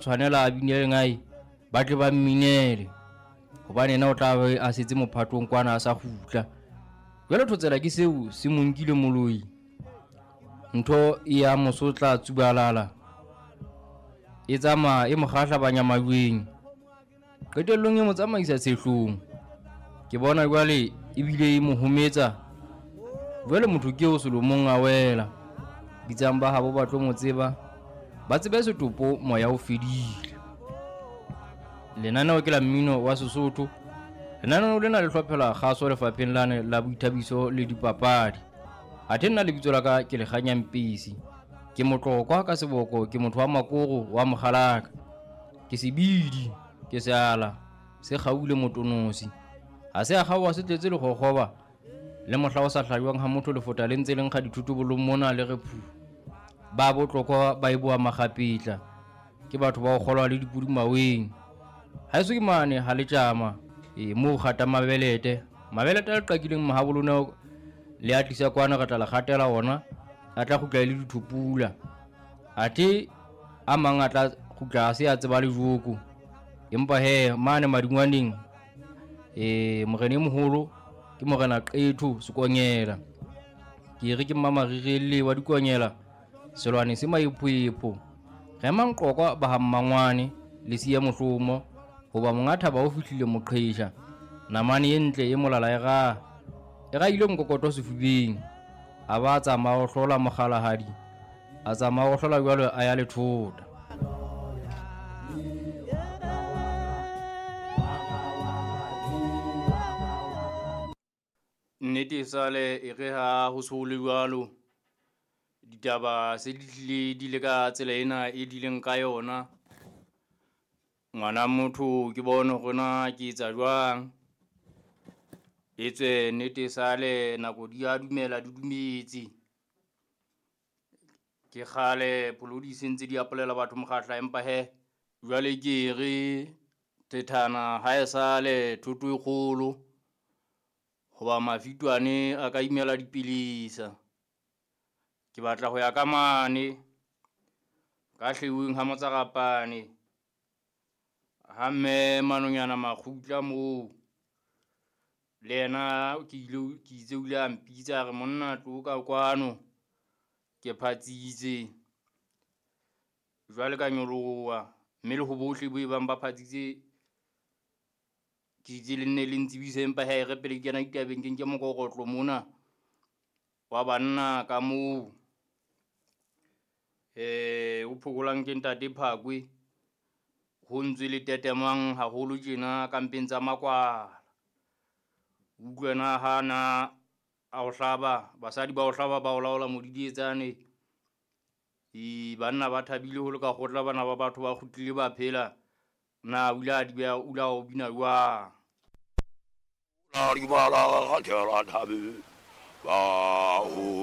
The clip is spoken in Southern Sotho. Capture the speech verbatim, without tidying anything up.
Tshwanela a bine lengae, ba tle ba mminele hobane yena o tla be a setse mophatong kwana a sa kgutla. Jwale thotsela ke seo se mo nkile moloi. Ntho e ya mosotla tsubalala e tsamaya e mo kgahlabanya majweng. Qetellong e mo tsamaisa tshehlong. Ke bona jwale ebile e mo hometsa. Jwale motho ke eo selomong a wela. Bitsang ba habo ba tlo mo tseba, ba tsebe setopo moya o fedile. Lenaneo ke la mmino wa Sesotho. Lenaneo lena le hlophela kgaso lefapheng lane la boithabiso le dipapadi. Athe nna lebitso la ka ke Lekganya Mpisi. Ke motlokwa ka seboko, ke motho wa makoro wa mokgalaka. Ke sebidi, ke seala, se kgaule motonosi. Ha se a kgaoha se tletse lekgokgoba. Le mohla o sa hlajwang ha motho lefota le ntse le nkga dithotobolong mona le re phu. Ba botlokwa ba e boa makgapetla. Ke batho ba ho kgolwa le dipudi maweng. Haeso ke mane ha le tjama, e moo kgata mabelete. Mabelete a le qakileng mahabolona le a tlisa kwana re tla le kgatela ona, a tla kgutla e le dithopula. Athe a mang a tla kgutla a se a tseba le joko. Empa he mane madingwaneng, eh morena e moholo ke morena Qetho Sekonyela. Ke re ke mmamarire wa dikonyela, selwane se maephoepho. Re manqokwa ba ha mmangwane le siya mohlomo hoba monga thaba o fihlile moqhesha. Namane e ntle e molala e raha, e rahile mokokoto sefubeng. A ba tsamaya ho hlola mokgalahadi, a tsamaya ho hlola jwalo a ya lethota. Nnete e sale e re ha ho so le jwalo, ditaba se di tlile di le ka tsela ena e dileng ka yona. Ngwana motho ke bone hore na ke etsa jwang. Etswe nnete e sale nako di a dumela di dumetse. Ke kgale pholodi se ntse di apolela batho mokgahla, empa he jwale ke re thethana ha e sale thoto e kgolo. Hoba mafitwane a ka imela dipilisa. Ke batla ho ya ka mane ka hlweuweng ha motsarapane. Ha mme manonyana makgutla moo le yena ke ile ke itse o ile a mpitsa a re monna tlo ka kwano ke phatsitse. Jwale ka nyoloha mme le ho bohle bo e bang ba phatsitse, ke itse le nne le ntsebise empa he re pele ke kena ditabeng ke nke mokokotlo mona wa banna ka moo. Eh o phokolang ke ntate Phakwe, ho ntswe le tetemang haholo tjena ka mpeng tsa makwala. Utlwe na ha na a o hlaba, basadi ba o hlaba ba o laola modidietsane. E banna ba thabile ho le ka kgotla bana ba batho ba kgutlile ba phela. Na o ile a di beha, o ile a o bina jwang? La di bala ga thela thabe ba ho